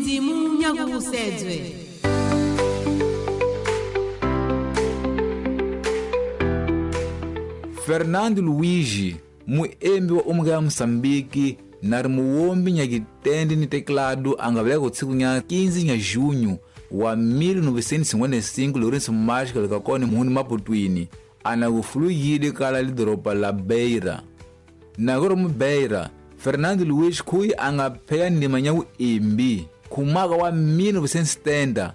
Dzindzimu nyakuvusedzwe. Fernando Luigi, muembi wa umuka ya Moçambique, na ri muwombi nyakitende ni teclado a nga veleka tsiku nya 15 nya junho wa 1955 Lourenço Marques leka kone muhuni Maputwini, ana kufuluyile kala lidoropa la Beira. Nakoro mu Beira, Fernando Luiz khuyi a nga pheya ndima nya vuembi khumaka wa 1970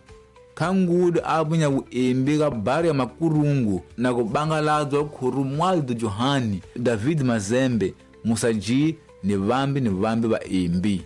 khangudu a vunya vuembi ka bari ya Makurungu na ku bangaladzwa Khurumwaldo Johani, David Mazembe, Musa G ni vambi vaembi.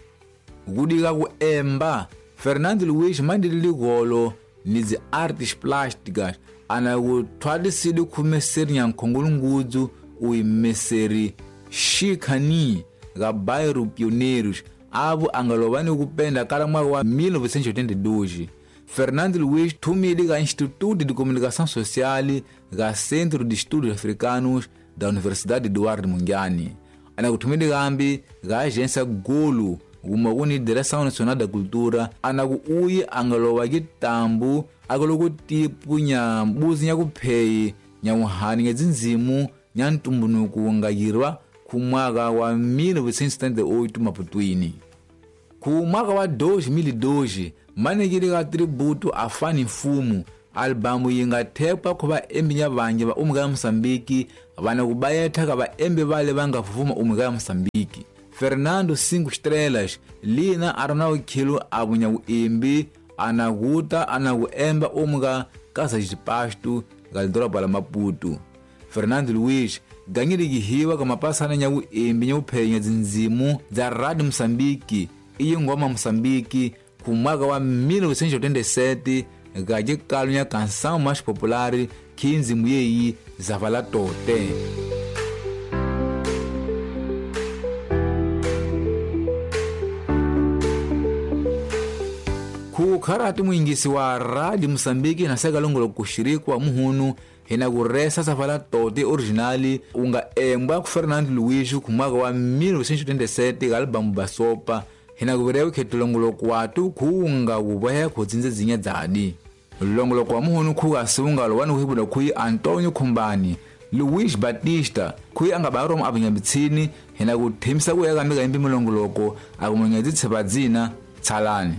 Kudika ku emba, Fernando Luiz mandili ligolo ni dzi artes plásticas ana ku thwalisile khumeseri nya nkhongolungudzu uyimeseri Xikhani ga bairro Pioneiros avo a nga lova ni ku penda kala mwaka wa 1982. Fernando Luiz thumile ka Instituto de Comunicação Social ga Centro de Estudos Africanos da Universidade Eduardo Mondlane. Ana ku thumile kambi ga Agência Golo kuma kuni Direção Nacional da Cultura ana ku uyi a nga lova ki tambu a ku loko tipu nya mbuzi nya kupheyi nya wuhani nya dzindzimu nya ntumbunuku nga yirwa ku mwaka wa 1978 Maputwini. Ku mwaka wa 2002 manekile ka tributo a Fani Mfumo albamu yi nga thekwa ku vaembi nya vangi va umuka ya Moçambique vana ku bayetha ka vaembi vale va nga fufuma umuka ya Moçambique. Fernando 5 Estrelas lina a ri na vukhilo a vunya vuembi ana kuta ana ku emba umuka Casa de Pasto ga lidoroba la Maputo. Fernando Luiz ganyile kihiwa ka mapasana nya vuembi nya vuphenya dzindzimu dza Radio Moçambique iyi ngoma Moçambique ku mwaka wa 1987 ga xikalo nya Canção Mais Popular khi ndzimu yeyi Zavala Tote. Ku kharati muingisi wa Radio Moçambique na seka longolo kushirikwa muhunu hina ku resa Zavala Tote originali unga embwa ku Fernando Luiz ku mwaka wa 1987 ga albamu Basopa hina ku rewe khetulongolo kwatu kuunga kubohe khudzinze dzinya dzadi. Longolo kwa muhunu khuka siungalo wani kuhibula khuyi Antonio Khumbani Luiz Batista khuyi anga baromo avunyabitsini hina ku themisa ku ya ka mika imbi mulongoloko akumunyedzi tshepa dzina tsalani.